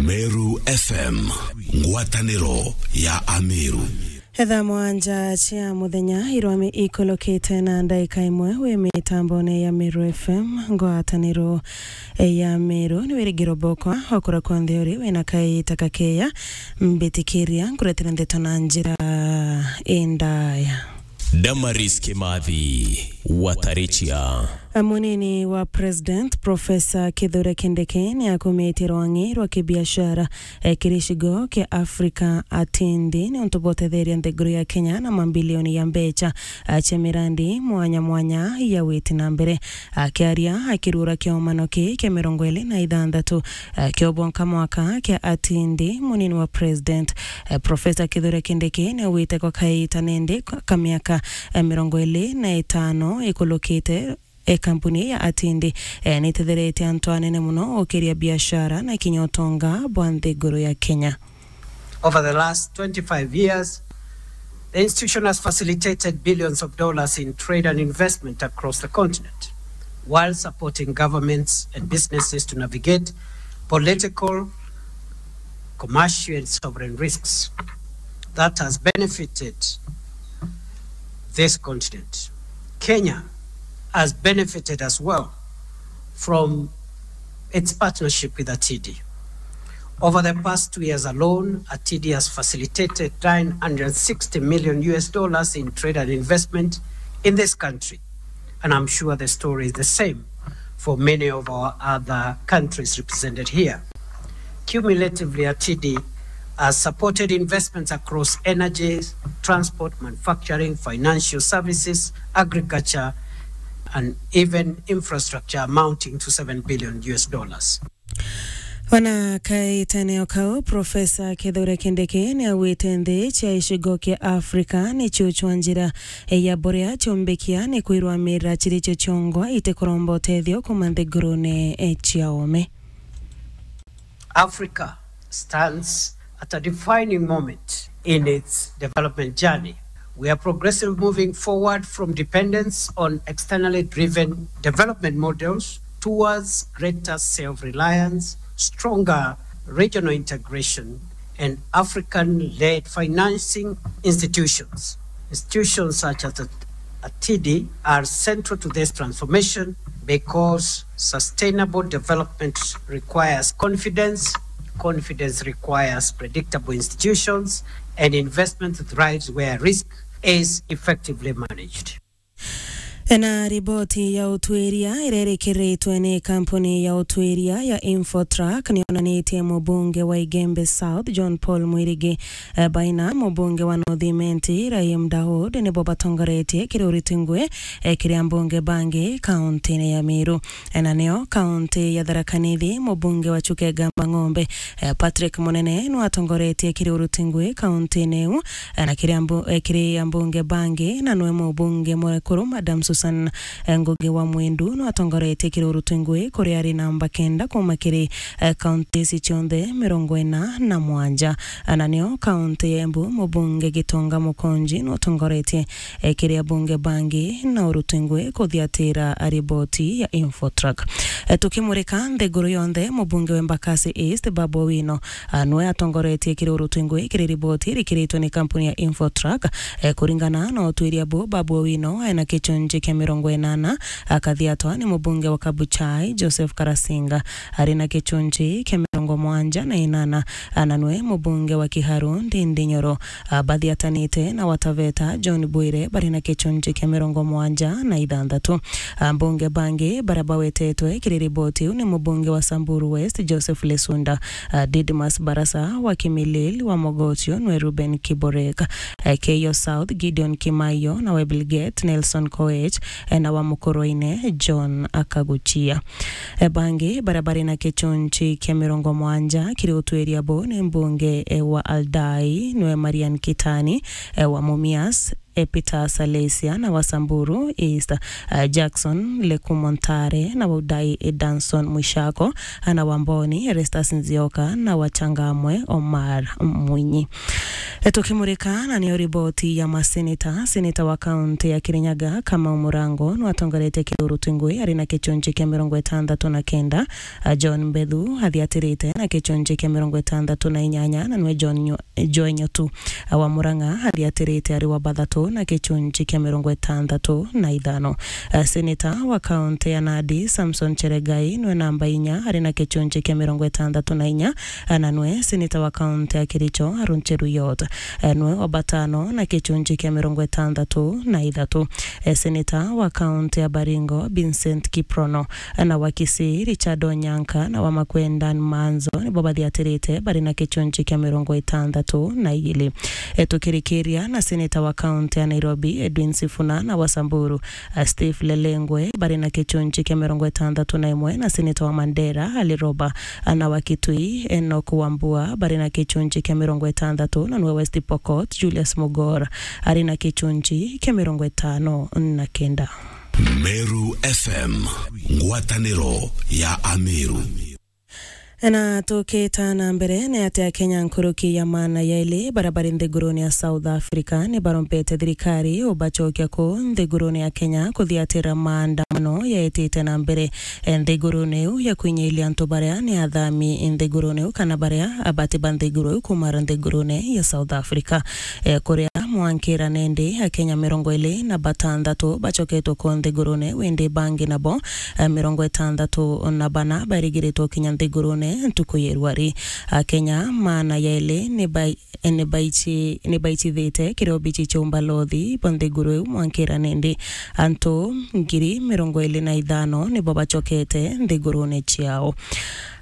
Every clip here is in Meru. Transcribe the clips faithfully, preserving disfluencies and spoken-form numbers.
Meru F M, ngwataniro ya Ameru. Thaa mwanja cia muthenya irwami ikulukite na ndaika imwe wi mitambone ya Meru F M, ngwataniro ya Meru. Ni wirigiro bokwa okura kwonthe uri wina kaita kakeya, mbitikiria nkuretera ndeto na njira indaya. Damaris Kimathi, Watarichia. Munini wa President, Professor Kithure Kindiki, ni akumitie rwang'i rwa kibiashara, eh, kiri gicigo kia Africa atindi, ni untu bwa utetheria nthiguru ya Kenya na mambilioni ya mbecha, ah, cia mirandi mwanya mwanya ya witi na mbere. Akiaria akirura kiomano ki kia mirongo iri na ithanthatu, eh, kia ubonka mwaka kia atindi, munini wa President, eh, Professor Kithure Kindiki, ni augite kwa kaita nindi ka miaka, eh, mirongo iri na itano ikulukite, eh, kampuni ya atindi, eh, ni itetheretie antu anene muno ukiria biashara na kinya utonga bwa nthiguru ya Kenya. Over the last twenty-five years, the institution has facilitated billions of dollars in trade and investment across the continent, while supporting governments and businesses to navigate political, commercial, and sovereign risks. That has benefited this continent. Kenya has benefited as well from its partnership with atindi. Over the past two years alone, atindi has facilitated nine hundred sixty million U S dollars in trade and investment in this country. And I'm sure the story is the same for many of our other countries represented here. Cumulatively, atindi has supported investments across energy, transport, manufacturing, financial services, agriculture, and even infrastructure amounting to seven billion U S dollars. Ona kaitene o kau, Professor Kithure Kindiki ni augite nthi cia gicigo kia Africa ni ciuchwa njira ya buria ciumbikia ni kwirwamira ciri cio ciongwa itikuromba utethio kuma nthigurune cia ome. Africa stands at a defining moment in its development journey. We are progressively moving forward from dependence on externally driven development models towards greater self-reliance, stronger regional integration, and African-led financing institutions. Institutions such as atindi are central to this transformation because sustainable development requires confidence, confidence requires predictable institutions, and investment thrives where risk is effectively managed. Na riboti ya utwiria iria irikiritwe ni kampuni ya utwiria ya Infotrak ni yonanitie mubunge wa Igembe South, John Paul Mwirigi, eh, baina mubunge wa North Imenti, Rahim Daud, nibo batongoretie kiri uriti ngui, eh, kiri ambunge bangi kauntine ya Meru. Eh, na nio kaunti ya Tharaka Nithi, mubunge wa Chuka Igamba Ng'ombe, eh, Patrick Munene, nwatongoretie kiri uriti ngui kauntine iu, eh, na kiri ambu-, eh, kiri ambunge bangi, na nwe mubunge mwekuru, Madam Susan, eh, Ngugi wa Mwindu, nwatongoretie kiri uriti ngui kuria ari namba kenda kuma kiri, eh, kaunti ici cionthe mirongo ina na mwanja. Eh, na nio kaunti ya Embu, mubunge Gitonga Mukonji, nwatongoretie, eh, kiri abunge bangi na uriti ngui kuthiatira riboti ya Infotrak. Eh, tukimurika nthiguru yonthe, mubunge wa Embakasi East, Babu Owino, ah, nwe atongoretie kiri uriti ngui kiri riboti irikiritwe ni kampuni ya Infotrak. Eh, kuringana na utwiria bu, Babu Owino ena gichunchi kia mirongo inana, akathiatwa ni mubunge wa Kabuchai, Joseph Karasinga, ari na gichunchi kia mirongo mwanja na inana, ah, na nwe mubunge wa Kiharu, Ndindi Nyoro, ah, bathiatanite na Wataveta, John Bwire, bari na gichunchi kia mirongo mwanja na ithanthatu. Ambunge bangi baria bawetetwe kiri riboti iu ni mubunge wa Samburu West, Joseph Lesunda, ah, Didmus Barasa wa Kimilili, wa Mogotio nwe Reuben Kiborek, eh, Keyo South, Gideon Kimaio, na wa Elgeyo Nelson Koech, eh, na wa Mukurweini, John Akaguchia. Eh, bangi baria bari na gichunchi kia mirongo mwanja kiri utwiria bu ni mbunge, eh, wa Aldai nwe Marian Kitani, eh, wa Mumias, eh, Peter Salesia na wa Samburu East, eh, Jackson Lekumo Ntare na wa Udai, eh, Danson Mwishako, eh, na wa Mboni Erastus Nzioka na wa Changamwe Omar Mwinyi. Eh, tukimurika na niyo riboti ya maseneta, seneta wa kaunti ya Kirinyaga Kamau Murango nwatongeretie Kiruru Tungui ari na kichunchi kia mirongo itandatu na kenda, eh, John Mbethu athiatirite na kichunchi kia mirongo itandatu na inyanya, na nwe John Nyo- Joy Nyotu wa Murang'a athiatirite ari wa bathatu na kichunchi kia mirongo itandatu na ithano. Eh, seneta wa kaunti ya Nandi, Samson Cheregai, nwe namba inya ari na kichunchi kia mirongo itandatu na inya, eh, na nwe seneta wa kaunti ya Kericho, Aaron Cheruiyot, eh, nwe wa batano na kichunchi kia mirongo itandatu na ithatu. Eh, seneta wa kaunti ya Baringo, Vincent Kiprono, na wa Kisii, Richard Onyanka, na wa Makueni, Dan Manzo, nibo bathiatirite bari na kichunchi kia mirongo itandatu na igiri. E, tukirikiria na seneta wa kaunti ya Nairobi, Edwin Sifuna, na wa Samburu, a, Steve Lelengwe, bari na kichunchi kia mirongo itandatu na imwe, na seneta wa Mandera, Ali Roba, a, na wa Kitui, Enoch Wambua, bari na kichunchi kia mirongo itandatu, na nwe West Pokot, Julius Mugor, ari na kichunchi kia mirongo itano na kenda. Meru F M, ngwataniro ya Ameru. Na tukita na mbere, ni ati Akenya nkuruki ya maana yaili baria bari nthigurune ya South Africa ni barombete thirikari ubacokia kuu nthigurune ya Kenya kuthiatira maandamano yaitite na mbere, e, nthigurune iu ya kwinyiiria antu baria ni athami nthigurune iu kana baria abati ba nthiguru iu kumara nthigurune ya South Africa. E, kuria mwankira nindi Akenya mirongo iri na batandatu bacoketwe ku nthigurune, windi bangi nabo, e, mirongo itandatu na bana barigiritwe kinya nthigurune ntuku ya irwari. Akenya maana yaili ni bai-, ni baichi-, ni baicithite kiria obichi cia umbalothi bwa nthiguru iu mwankira nindi. Antu ngiri mirongo iri na ithano nibo bacokete nthigurune ciao.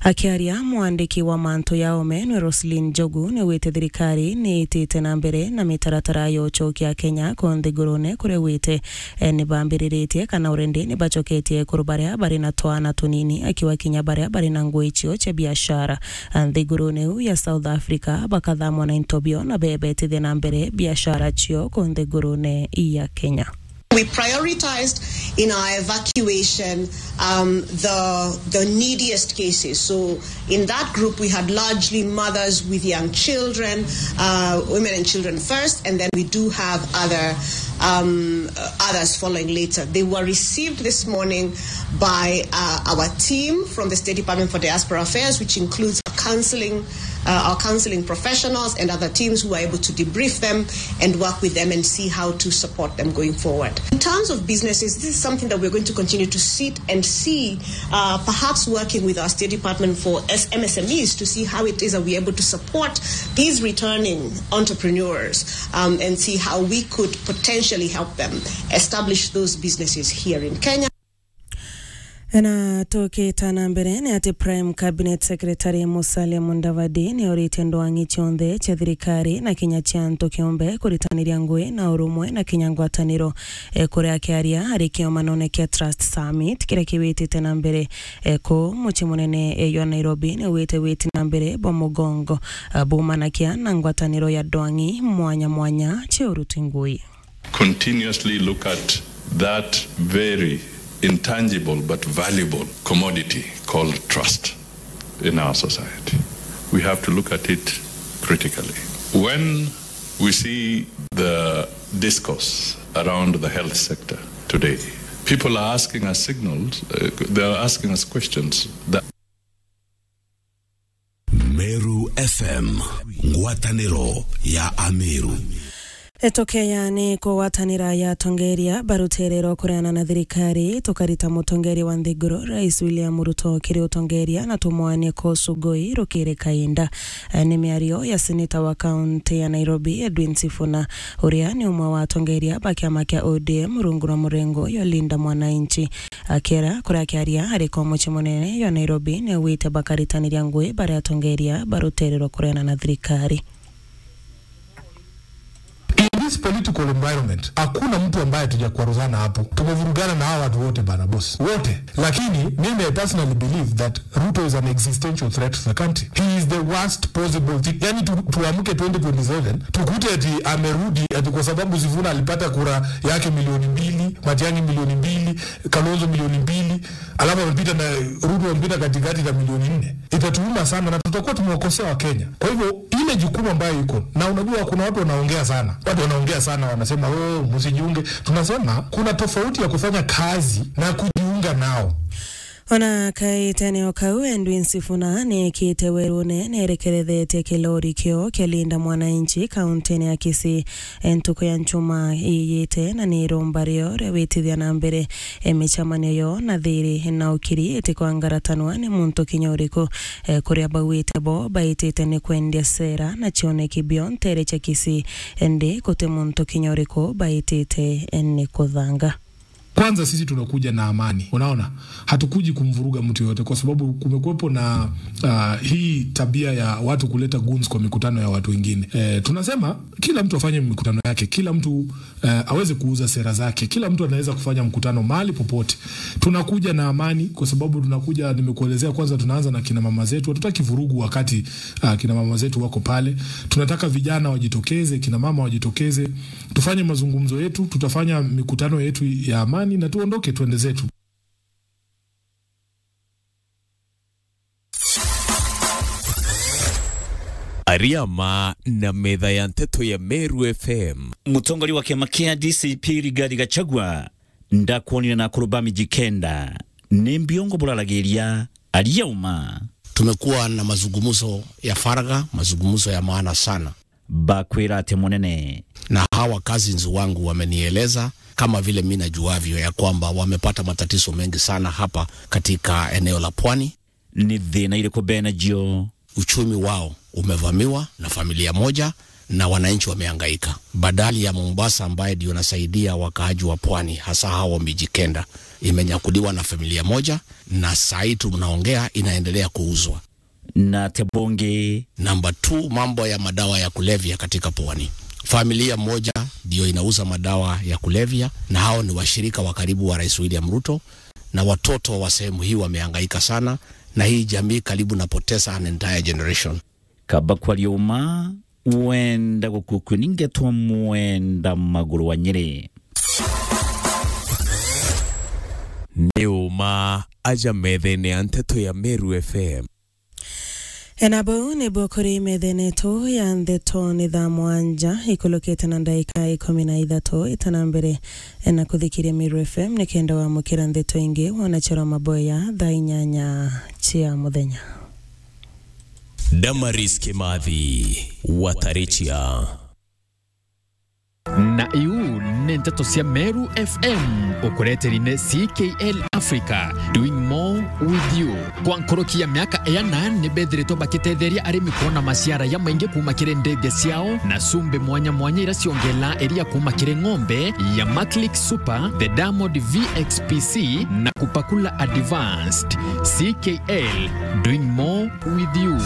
Akiaria mwandiki wa mantu ya ome nwe Roselyn Njogu, niwite thirikari niitite na mbere na mitaratara ya ucokia Akenya ku nthigurune kuria wite, e, nibambiriritie kana already nibacoketie ekuru baria bari na twana tunini, akiwa kinya baria bari na ngui cio cia biashara, a, nthigurune iu ya South Africa, bakathamwa na into bio na bebetithia na mbere biashara cio ku nthigurune ya Kenya. We prioritized in our evacuation, um, the, the neediest cases. So in that group, we had largely mothers with young children, uh, women and children first, and then we do have other, um, uh, others following later. They were received this morning by, uh, our team from the State Department for Diaspora Affairs, which includes counseling, uh, our counseling professionals and other teams who are able to debrief them and work with them and see how to support them going forward. In terms of businesses, this is something that we're going to continue to sit and see, uh, perhaps working with our State Department for S-, M S M Es to see how it is that we're able to support these returning entrepreneurs, um, and see how we could potentially help them establish those businesses here in Kenya. Na tukita na mbere, ni ati Prime Cabinet Secretary Musalia Mudavadi ni oritie ndwang'i cionthe cia thirikari na kinya cia antu kiumbe kuritaniria ngui na urumwe na kinya ngwataniro. E, kuria akiaria ari kiomanone kia Trust Summit kiria kiwitite na mbere, e, ku mucii munene, e, jwa Nairobi, ni wite witi na mbere bwa mugongo, a, bumanakia na ngwataniro ya ndwang'i mwanya mwanya cia uruti ngui. Continuously look at that very intangible but valuable commodity called trust in our society. We have to look at it critically. When we see the discourse around the health sector today, people are asking us signals, uh, they are asking us questions that Meru F M, ngwataniro ya Ameru. Etukeya ni kugwatanira ya atongeria baruterero kureana na thirikari, tukarita mutongeria wa nthiguru, Rais William Ruto, kiri utongeria na tumwanie kosu ngui rukiri kainda. Eh, ni miario ya seneta wa kaunti ya Nairobi, Edwin Sifuna, uria ni umwe wa atongeria ba kiama kia O D M rungu rwa murengo ya Linda Mwananchi. Akiera kuria akiaria ari kwa mucii munene ya Nairobi, ni augite bakaritaniria ngui baria atongeria ba rutere rwa kureana na thirikari. In This political environment, hakuna mtu ambaye tujakwaruzana hapo. Tumevurugana na hawa watu wote bana, boss. Wote. Lakini mimi, I personally believe that Ruto is an existential threat to the country. He is the worst possible thing. Yani tu, tuamke twenty twenty-seven, tukute ati amerudi, ati kwa sababu Sifuna alipata kura yake milioni mbili, Matiang'i milioni mbili, Kalonzo milioni mbili, alafu amepita na Ruto amepita katikati na milioni nne. Itatuuma sana na tutakuwa tumewakosea Wakenya. Kwa hivyo, ile jukumu ambayo iko, na unajua kuna watu wanaongea sana. Watu wanaongea sana, wanasema, "Oh, msijiunge." Tunasema kuna tofauti ya kufanya kazi na kujiunga nao. Ona kaitene o kau, Edwin Sifuna neekite werune nerekerethetie kilori kio kia Linda Mwananchi kauntine ya Kisii, e, ntuku ya Njumaa iiyite, na ni iromba rio ria gwitithia na mbere, e, micemanio yo na thiri na ukiri itikwangaratanwa ni muntu kinya uriku, e, kuria bauite bo baitite ni kwendia sera na cioneki bio ntere cia Kisii, indi guti muntu kinya uriku baitite, e, ni kuthanga. Kwanza sisi tunakuja na amani, unaona, hatukuji kumvuruga mtu yoyote, kwa sababu kumekuwepo na, ah, hii tabia ya watu kuleta goons kwa mikutano ya watu wengine. Eh, tunasema kila mtu afanye mikutano yake, kila mtu, eh, aweze kuuza sera zake, kila mtu anaweza kufanya mkutano mahali popote. Tunakuja na amani kwa sababu tunakuja, nimekuelezea, kwanza tunaanza na kina mama zetu, hatutaki vurugu wakati, ah, kina mama zetu wako pale. Tunataka vijana wajitokeze, kina mama wajitokeze. Tufanye mazungumzo yetu, tutafanya mikutano yetu ya amani na tuondoke, tuende zetu. Ariama na metha ya nteto ya Meru F M. Mutongoria wa kiama kia D C P Rigathi Gachagua ndakwonire na akuru ba Mijikenda. Ni mbiongo buraragiria, aria uma. Tumekuwa na mazungumzo ya faragha, mazungumzo ya maana sana. Bakwira ati munene. Na hawa cousins wangu wamenieleza, kama vile mi najuavyo, ya kwamba wamepata matatizo mengi sana hapa katika eneo la pwani. Ni thina iriku bena jio? Uchumi wao umevamiwa na familia moja na wananchi wamehangaika. Bandari ya Mombasa ambaye ndio nasaidia wakaaji wa pwani, hasa hao Mijikenda, imenyakuliwa na familia moja, na saa hii tunaongea inaendelea kuuzwa. Na ati bungi? Number two, mambo ya madawa ya kulevya katika pwani. Familia moja ndio inauza madawa ya kulevya, na hao ni washirika wa karibu wa Rais William Ruto, na watoto wa sehemu hii wamehangaika sana, na hii jamii karibu napoteza an entire generation. Kaba kwaria uma, wenda gukukua ni ngetwa mwenda maguru wa Nyeri. Ni uma aja methene ya nteto ya Meru F M. Ena bau nibuo kuri methene yetu ya nteto ni thaa mwanja ikulukite na ndaika ikumi na ithatu itana mbere na kuthikiria Meru F M, nikenda wamukira nteto ingi wona chero maboya thaa inyanya cia muthenya. Damaris Kimathi, Watarichia. Na iu ni nteto cia Meru F M, ukureteri ni C K L Africa, doing more with you. Kwa nkoroki ya miaka iana, ni bethiritwe bakitetheria arimi kwona maciara ya maingi kuuma kiri ndege ciao na cumbi mwanya mwanya iria ciongela iria kuuma kiri ng'ombe ya Maclick Super, the Diamond V X P C na Kupakula Advanced. C K L, doing more with you.